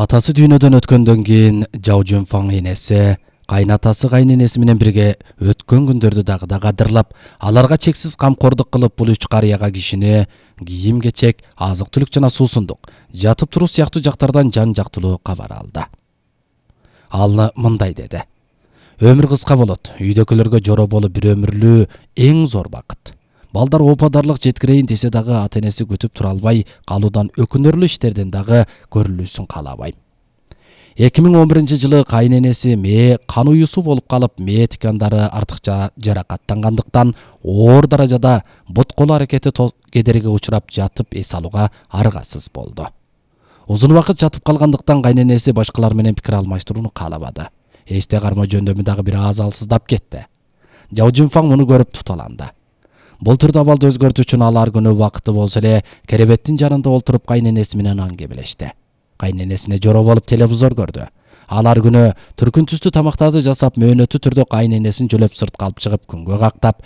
Атасы дүйнөдөн өткөндөн кийин Жао Жунфаң энеси кайнатасы кайненеси менен бирге өткөн күндөрдү дагы да кадырлап, аларга чексиз камкордук кылып, бул үч карыяга кишини кийим-кечек, азык-түлүк жана суусундук, жатып туруу сыяктуу жактардан жан жактылуу кабар алды. Ал мындай деди: "Өмүр кыска болот. Үйдөкөлөргө жоро болуп бир өмүрлүү эң зор бакыт. Балдар опадарлык жеткирейин десе дагы ата-энеси күтүп тура албай калуудан өкүнөрлүү иштерден дагы көрүлүүсүн каалабайм. 2011-жылы кайненеси мээ кан уюусу болуп калып, мээ тикандары артыкча жаракаттангандыктан оор даражада бут колу аракети кедерге учурап жатып эс алууга аргасыз болду. Узун убакыт жатып калгандыктан кайненеси башкалар менен пикир алмаштырууну каалабады. Эсте кармоо жөндөмү дагы бир аз алсыздап кетти. Жао Жунфаң муну көрүп туталанды. Бул түрдө абалды өзгөртүү үчүн ал ар күнү убакыты болсо эле керебеттин жанында олтуруп кайненеси менен аңгемелешти. Кайненесине жоро болуп телевизор көрдү. Ал ар күнү түркүн түстүү тамактарды жасап, мөөнөттүү түрдө кайненесин жөлөп сыртка алып чыгып күнгө кактап,